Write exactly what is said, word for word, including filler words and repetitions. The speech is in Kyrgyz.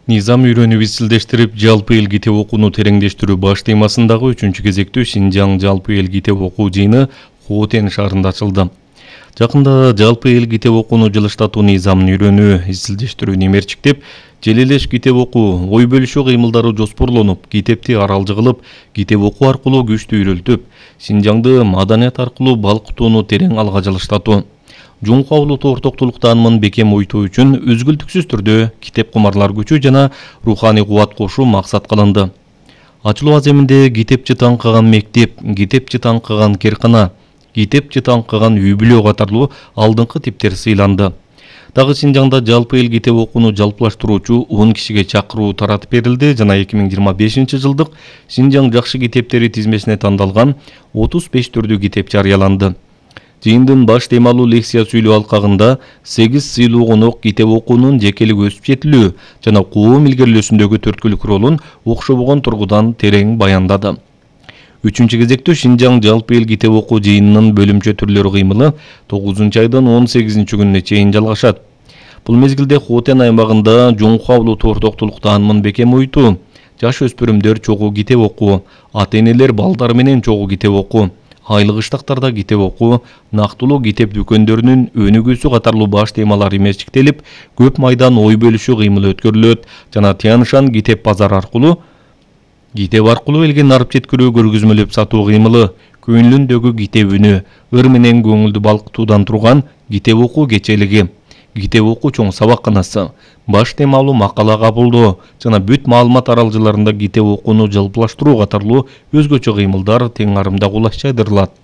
Низам үйрөнүү изилдештирип, жалпы эл китеп окууну тереңдештирүү баш темасындагы үчүнчү кезектүү Шинжаң жалпы эл китеп окуу жыйыны Хотен шаарында ачылды. Жакында жалпы эл китеп окууну жылыштатуу низамын үйрөнүү, изилдештирүүнү эмерчиктеп, желелеш китеп окуу, ой бөлүшүү кыймылдары жоспорлонуп, китепти аралжы кылып, китеп окуу аркылуу күчтү үйрөлтүп, Шинжаңды маданият аркылуу балкытууну терең алга жылыштатуу. Жуңку Авлуту ортоктулук таанымын бекем ойтуу үчүн үзгүлтүксүз түрдө китеп кумарлар күчү жана руханий кубат кошуу максат кылынды. Ачылуу аземинде китепчи таңкыган мектеп, китепчи таңкыган керкана, китепчи таңкыган үй-бүлө катарлуу алдыңкы типтер сыйланды. Дагы Шинжаңда жалпы эл китеп окууну жалпылаштыруучу он кишиге чакыруу таратып берилди жана эки миң жыйырма бешинчи жылдык Шинжаң жакшы китептери тизмесине тандалган отуз беш түрдүү китеп жарыяланды. Жыйындын баш темалуу лекция сүйлөө алкагында сегиз сыйлуу конок китеп окуунун жекелик өсүп жетилүү жана коом илгерилөөсүндөгү төрткүлүк ролун окшобогон тургудан терең баяндады. Үчүнчү кезектүү Шинжаң жалпы эл китеп окуу жыйынынын бөлүмчө түрлөрү кыймылы тогузунчу айдын он сегизинчи күнүнө чейин жалгашат. Бул мезгилде Хотен аймагында Жуңку Авлуту ортоктулук таанымын бекем ойтуу, жаш өспүрүмдөр чогуу китеп окуу, ата-энелер балдары менен чогуу китеп окуу, айлык ыштактарда китеп окуу, нактылуу китеп дүкөндөрүнүн өнүгүүсү катарлуу баш темалар эмерчиктелип, көп майдан ой бөлүшүү кыймылы өткөрүлөт жана Тяншан китеп базары аркылуу китеп аркылуу элге нарып жеткирүү көргөзмөлөп сатуу кыймылы, көңүлүндөгү китеп үнү, ыр менен көңүлдү балкытуудан турган китеп окуу кечелиги, китеп окуу чоң сабакканасы, баш темалуу макала кабылдоо жана бүт маалымат аралжыларында китеп окууну жалпылаштыруу катарлуу өзгөчө кыймылдар тең арымда кулаш жайдырылат.